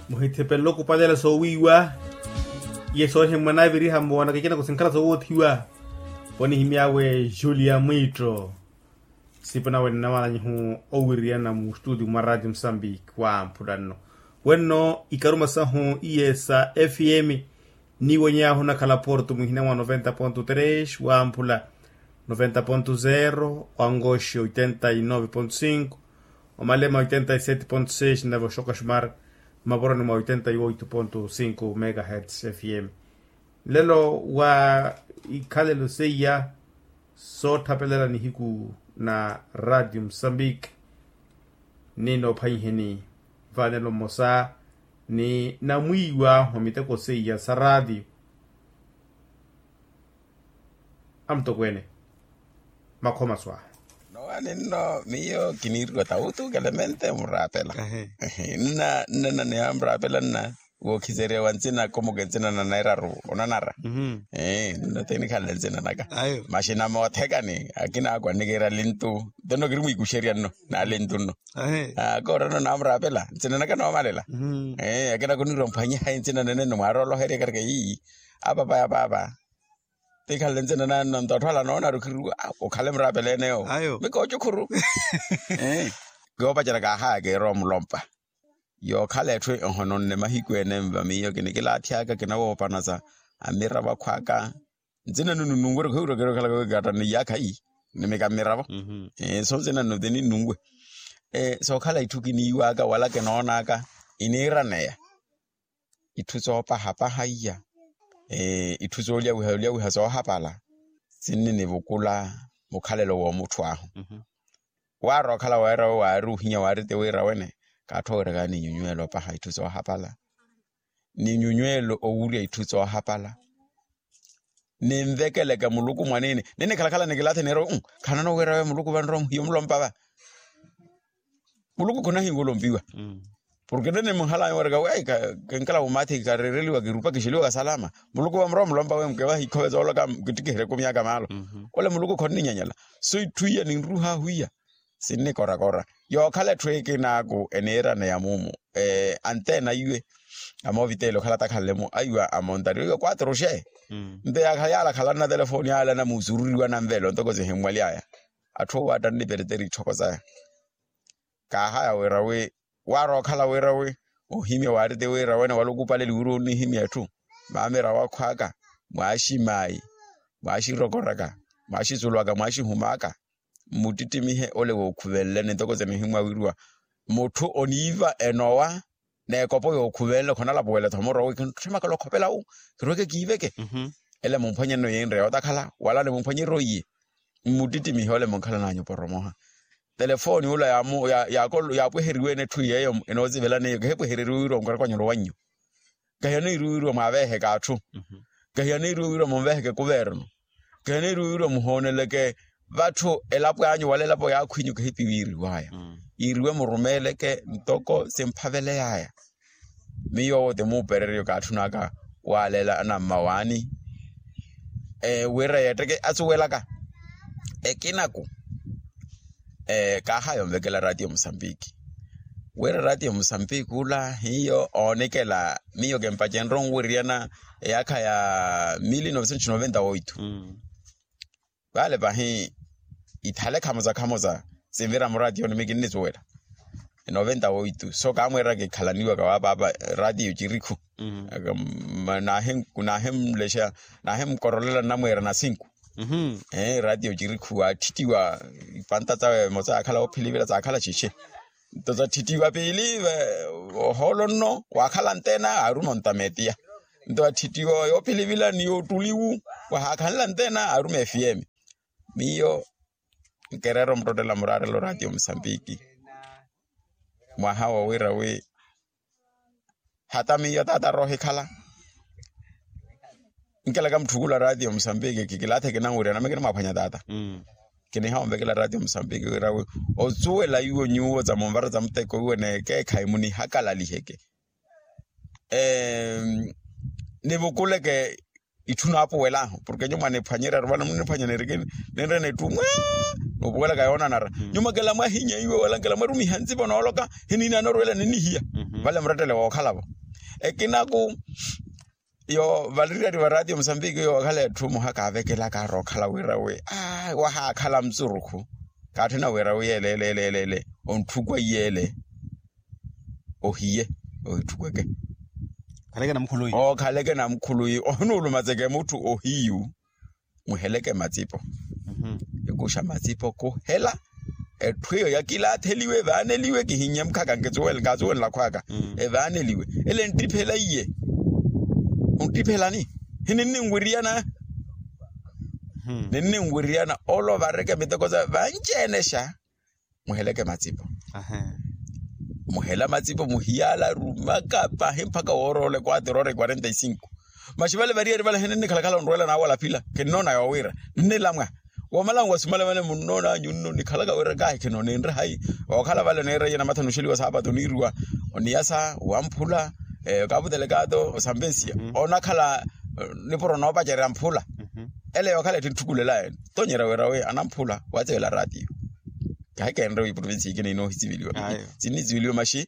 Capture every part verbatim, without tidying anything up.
Muhithipelele okupalela soowiiwa. Iye sooriha mwanaviriha mmoona kikina kusinkhala soowothiwa. Ponihimy'awe julia mwiitto. Sipo nawe nnawananyihu owiriyana mu studio mwa radio mosambiki wamphula nno. Wenno ikaruma sahu iye sa fm. Niiwony'ahu nakhala porto muhina mwa noventa ponto tres wamphula noventa ponto zero, wangoxi oitenta y nove ponto cinco, omalema oitenta y sete ponto seis nave oxoka xumar mmaporoni mwa oitenta y oito ponto cinco megahertz fm. Nlelo wa ikhalelo seiya soothapelela nihiku na radio mosambiki. Ni noophwanyiheni vanelo mmosa ni namwiiwa mwa miteko seiya sa radio. Amutokweene makhoma swaaha. Nowaani nno miyo kiniiriwa tawutu kelemente muraapela. Nna nna niyamuraapela nna wookhiserya wa ntsina komuke ntsina na nairaru onanara. Ee nno tenikhanle ntsina naka. Maxina moothekani akinaakwa nnikiira lintu nto nno kiri mwiikuxerya nno na lintu nno. Koorano namuraapela ntsina naka noomalela. Ee akina kuniira omphwanyiha ntsina nene nno mwarooloherya karika ii apapaya paapa. Tikhanle ntsina nanno nto atthu ala noonari okhiruwa okhale muraapela ene yoowo. Mikoocukhuru. Kiyoopacerya kaahaya kiirowa omulompa. Yookhala etthu ehono nne mahiku ene mva miyo kinikilaathyaaka kinawoopanasa amiravo akhwaaka. Ntsina nnu nununwere khuhiwira kirookhalaka wekaatta ni iyaakha ii. Nimika mmiravo. So ntsina nnu tininunwe. Sookhala itthu kiniiwaaka wala kinoonaka iniiraneya. Itthu soopahapaha iya. Itthu soolyawiha olyawiha soohapala sinninivukula mukhalelo w'omutthu ahu. Waari okhala wira we waari ohinya waari ti wira wene kaattho wira kaaninyunywela opaha itthu soohapala. Ninyunywela owurya itthu soohapala. Ninvekeleke muluku mwanini ninikhalakhala nikilaathi niira wi khanano wira we muluku vanrowa muhiya omulompa va. Muluku khonahiwa olompiwa. Porke nene muhalaya wereka wi ai kinkala wumaathi kareereliwa kirupakixeliwa kasalama. Muluku vamurowa mulompa we mukevaha ikhove zooloka kittikiheryeke omyaaka maalo. Ole muluku khonninyanyala. So itthu iya ninruhaahu iya sinnikorakora. Yookhala etthu ekinaaku eniiraneya muumu. Anteena iwe amooviteli okhala takhanle-mo aiwa amontari iwe quatro g. Nto yaakhala yaala khalanna telefoni yaala namuusururiwa nanvelo ntoko sihimmwaly'aya. Atthu owo attani nipereteri itthoko saya. Kaahaya wira wi waari okhala wira wi ohimya waari ti wira wene wala okupaleli wira onihimya etthu. Maamira wakhwaaka mwaaximaayi mwaaxirokoraka mwaaxisuluwaka mwaaxihumaaka. Mmuttittimihe ole wookhuvenleni ntoko sinihimwawiriwa. Mutthu oniiva enowa n'ekopo yookhuvenle khonalapuwela-tho muro wi kintthimaka olokhopela wu kirweke kiiveke. Ele mumphwanye nno yenre yootakhala wala nimumphwanyerye oiye. Mmuttittimihe ole munkhalan'anyu oporomoha. Telefoni ula yaapweheriwe-ene etthu yeeyo enoosivelaneiyo kihepwehereriwe wira onkaraka onyolo wannyu. Kahiya niiriwe wira mwaaveeheke atthu. Kahiya niiriwe wira munveeheke kuvernu. Kahiya niiriwe wira muhooneleke vatthu elapo anyu wala elapo yaakhwinyu kahipi wiiriwaya. Yiiriwe murumeeleke ntoko simphaveleyaya. Miyo owo ti muupereryo kaatthunaka waaleela anamma waani. Wira yeetteke asuwelaka ekinaku. Kaahaya onvekela ratio musambiki. Wira ratio musambiki ula hiyo oonikela miyo kimpacenrye onwiryana eyaakha ya mili novecentos noventa oito. Vale pahi ithale khamosa khamosa sinvira muratio ni mikinnisuwela. Noventa oito so kaamweerera kikhalaniwaka wapaapa ratio cirikhu. Naahimlexa naahimukorolela nnamweera na sinku. Ratio cirikhu waattittiwa ipanta cawe emosa yaakhala yoophilivila saakhala cixe. Nto sattittiwa piili ohoolo nno waakhala ntena aaruma ontametiya. Nto attittiwa yoophilivila ni yoottuliwu wahaakhanla ntena aaruma efiyemi. Miyo nkereera omuttottela muraarelo ratio musambiki mwaha wowira wi hata miyo taata roohikhala. Nkelaka mutthukula ratio musambiki kikilaathe kinanwirya nami kinimwaphwanya taata. Kiniha onvekela ratio musambiki wira wi osuwela iwo nyuwo za munvara za muteko iwo nekeekhayi munihakalalihe ke nivukuleke itthu naapuwel'ahu porke nyuma niphwanyerya aruvale munniphwanya niriki ninrene etthu mwaa. Noopuwelaka yoonanara nyuma kela mwahinya iwe wala nkela mwarumiha ntsipo nooloka hiniina norwela ninnihiya. Vale murettele wookhala-vo ekinaku yo valiriyari va ratio musambiki yo okhala etthu muha kaavekelaka arookhala wira wi aa wahaakhala msurukhu kaatthina wira wi ele ele ele ele ele ontthukwa iye ele ohiye ohitthukweke. Okhaleke namukhuluyi ohinuluma tseke mutthu ohiyu muheleke matsipo. Ekuxa matsipo kuhela etthu eyo yakilaatheliwe vaaneliwe kihinye mukhaka nkatsuwenla khwaka evaaneliwe ele nttiphela iye. Onttiphelani hininninwiriyana ninninwiriyana ole ovareke miteko sa vanci-enexa. Muheleke matsipo muhela matsipo muhiyaala arumaka pahi mpakha wooroole quatro horas quarenta e cinco. Maxi vale variyari vale hininnikhalakhala onrwela naawala phila kinnoona yoowira ninnilamwa wamala nwasumala vale munnoonanyu nno nikhalaka wira kahi kinoona enre hayi. Ookhala vale oneera iye namathana oxeliwa saapatu oniiriwa oniyasa wamphula okavutelekaato osampensiya onakhala nipuro noopacerya mphula ele yookhala etthu entthukulela ene tonyerya wira wi anamphula watsivela ratio. Kahi keenre wi provinsi ikina inoohitsiveliwa sinnitsiveliwa maxi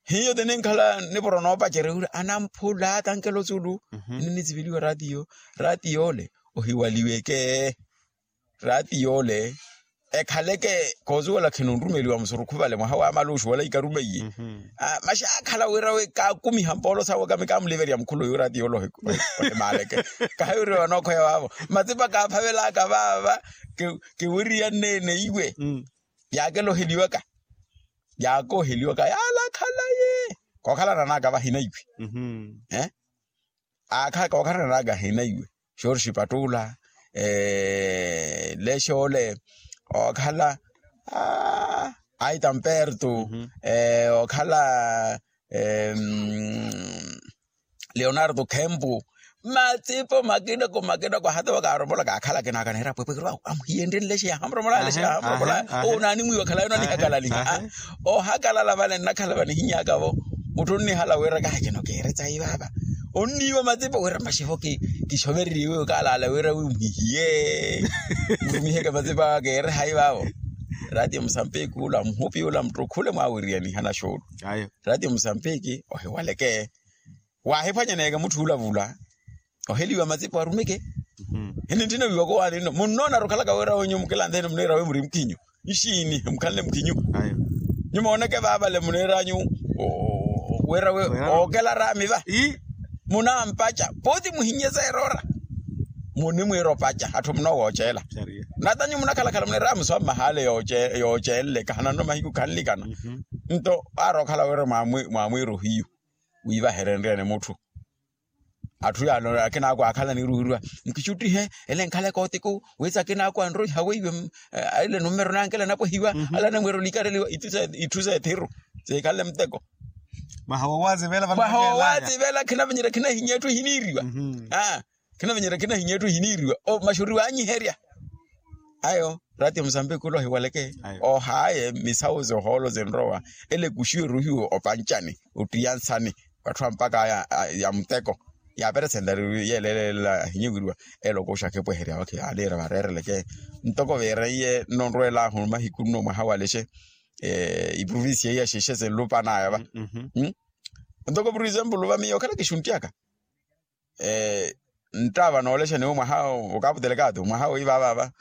hiyo tininkhala nipuro noopacerya wira anamphula tankelo sulu ninnitsiveliwa ratio ratio ole ohiwaliweke ratio ole ekhaleke koosuwela khinonrumeliwa musurukhu vale mwaha waamala oxuwela ikaruma iye. Maxi aakhala wira wi kaakumiha mpoolo sawe kami kaamuliverya mukhulu yu ratio ole ohimaaleke kahi wira wi vanookhoya vaavo matsipa kaaphavelaka vaava kiwiriyanneene iwe yaakeloheliwaka yaakooheliwaka yaalakhalaye kookhalananaka vahinaiwe. Aakha kookhalananaka hinaiwe xorxi patuula lexe ole ookhala aitamperto ookhala leonardo khempu matsipo makinako makinako hata wakaaromolaka akhala akinaka neera pwepwekero awo amuhiyenrye nlexe yahamuromolaya nlexe yahamuromolaya owo naanimwiiwa khalayo nanihakalaliha. Ohakalala vale nnakhala vanihinyaka-vo mutthu onnihala wira kahi kino keeretsa ivaava onniiwa matsipo wira mmaxivo kixovereriwe okaalaala wira wi muhihiye murumiheke matsipo awa keereha ivaavo. Ratio musampiki ula muhupi ula mutthu khule mwaawiriyaniha naxuulu ratio musampiki ohiwaleke waahiphwanyaneyeke mutthu ula vula oheliwa matsipo arumeke. Hinintthina wiiwaka owaani nno munnoona arukhalaka wira wenyu mukilantheni muniira wi muri mukhinyu nxiini mukhanle mukhinyu nyumooneke vaavale muniiranyu wira wi ookela raami va munampaca pooti muhinye seerora munimwiira opaca atthu munoowoocela nata nyu munakhalakhala muniira amuswa mmahaale yoocenle kahananno mahiku khanlikana nto aari okhala wira mwaamwiira ohiyu wiivaherenryani mutthu atthu yaano akinaakwa akhala niruhirwa nkixuttihe ele nkhaleke otiku witsi akinaakwa anroiha weiwe aile numero nankela napwehiwa ala namwira olikareliwa itthu seethiru siikhanle muteko mwaha woowatsivela khinavinyerya khinahinya etthu ehiniiriwa khinavinyerya khinahinya etthu ehiniiriwa maxuri waanyiherya ayo rati ya musambiki ula ohiwaleke ohaaye misawu zohoolo zinrowa ele kuxiwe ruhiwe opancani ottiyansani vatthu ampaka ya muteko yaaperesentari yeeleeleela ahinyuwiriwa ele okuxa akipweherya wakhi yaaleera vareereleke ntoko viireiye nnonrwelahu mahiku nno mwaha walexe iprovincia iya xixe sinlupanaya va ntoko por exemplo va miyo okhala kixunttiyaka nttaava noolexani wi mwaha okaputelekaato mwaha wiivaavaava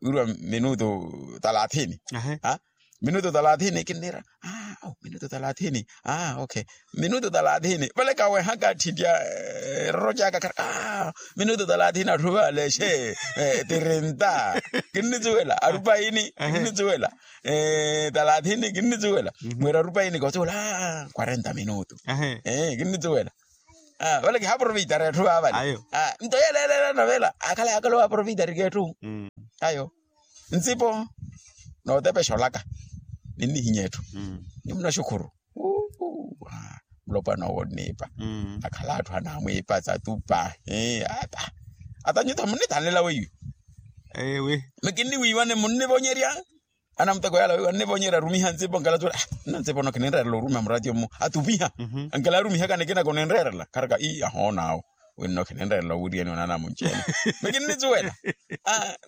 wiriwa minutu talathini minutu talathini kinniira minutu talathini ok minutu talathini vale kawehaka atthitya eroro caka minutu talathini atthu vaalexe tirinta kinnitsuwela arupaini kinnitsuwela talathini kinnitsuwela mwira arupaini kotsuwela quarenta minutu kinnitsuwela vale kihaproveitara etthu vaavale nto yeleelelana vela akhala yakhala owaproveitari k'etthu ayo ntsipo nootepexa olaka ninnihinya etthu nimunaxukhuru mulopwana owo onniipa akhala atthu anaamwiipa tsatupa ata ata nyutha munnithanlela weiwe ewe mikinniwiiwane munnivonyerya anamuteko yala weiwe annivonyerya arumiha ntsipo nkela tsuwela nna ntsipo nokininreerela orumiha muratiyo mmu atupiha nkela arumihaka nikinako ninreerela kharaka ii ahoonaawo Winno khinenreerela owiriyani onaana munci ene. Mikinnisuwela.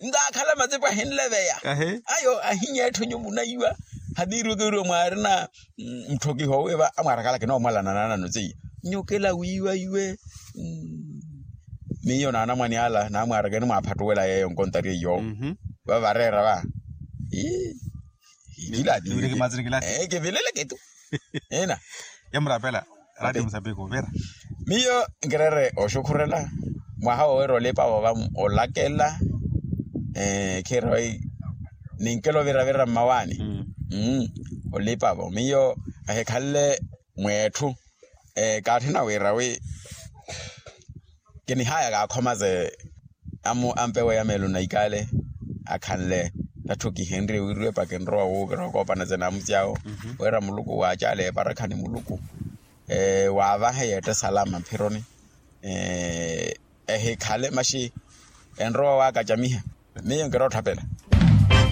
Ntaakhala matsipo ahinleveya. Ayo ahinyeettho nyuwo munaiwa. Hatiiriweke wiriwa mwaarina muthokiho wiiva amwaarakalaka enoomwalana naanano seiya. Nyokela wiiwa iwe. Miyo naanamwane ala naamwaarakeni mwaaphattuwela yeeyo nkontari eyo. Vavareera va. Kivileleke tu. Ina. Yamuraapela. Raati musapiko vira. Miyo nkireere oxukhurela mwaha woowira olipavo va olakela. Khiira wi ninkela oviravira mmawaani. Olipavo miyo ahikhanle mweetthu. Kaatthina wira wi kinihaya kaakhoma se ampewe ya meelo na ikale akhanle. Tatthu kihenrye wiriwe pakinrowa wuukira okoopana se naamusi awo wira muluku waacale eparakha ni muluku waavahe yeette salama mphironi. Ehikhale maxi enrowa waakacamiha. Miyo nkira otthapela.